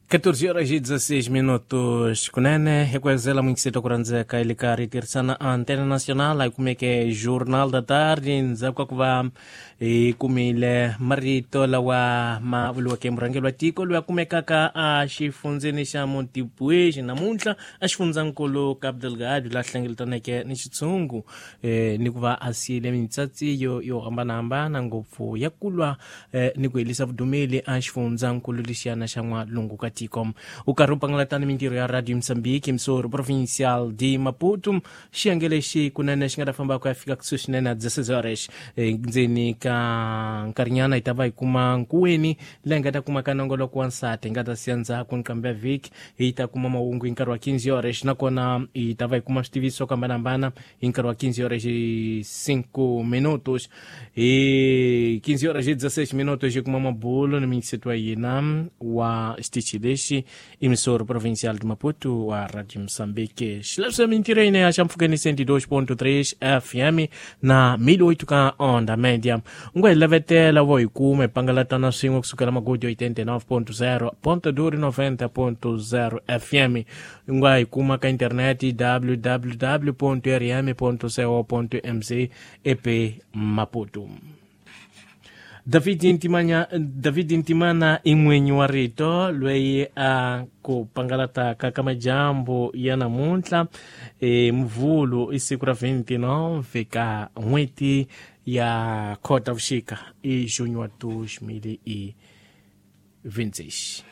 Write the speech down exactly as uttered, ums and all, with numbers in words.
catorze horas e dezesseis minutos. Kunene hi ku mungisito ku rhandzeka hi le karhi hi tirhisana Antena Nacional hi kumeke Jornal da Tarde ndzhaku ka ku va hi kumile marito lawa ma vuriweke murhangeri wa tiko loyi a kumekaka a xifundzeni xa Montepuez namuntlha a xifundzankulu Cabo Delgado laha hlengeletaneke ni xitshungu eh, ni ku va a siyile mitsatsiyo yo hambanahambana ngopfu ya ku lwa eh, ni ku helisa vudumeli a xifundzankulu lexiyana xa n'walungu ka tiko. U karhi u pangalatana mintirho ya Radio Mozambique, emissora provincial de Maputo. Xiyenge lexi kunene xi nga ta famba ku ya fika kusuhi swinene na dezesseis horas. Ndzeni ka nkarhinyana hi ta va hi kuma nkuweni laha hi nga ta kuma ka nongoloko wa nsati hi nga ta siya ndzhaku nqambi ya vhiki hi ta kuma mahungu hi nkarhi wa quinze horas, nakona hi ta va hi kuma switiviso swo hambanahambana hi nkarhi wa quinze horas e cinco minutos. Hi quinze horas e dezesseis minutos hi kuma mabulo ni minyiseto wa hina wa xitichi lexi, emissora provincial de Maputo wa Radio Mozambique. Xilaviso mintirho yina ya xampfhukeni cento e dois ponto três F M na mil e oito ka onda média. U nga hi lavetela vo hi kuma hi pangalatana swin'we kusukela magodi oitenta e nove ponto zero ponto duro noventa ponto zero F M. U nga hi kuma ka internet w w w ponto r m ponto co ponto m z e p Maputo. David Ntimanya, David Ntimana i n'winyi wa rito loyi a ku pangalataka ka majambu ya namuntlha e Mvhulu i siku ra vinte e nove ka n'hweti ya Khotavuxika i junho wa dois mil e vinte e seis.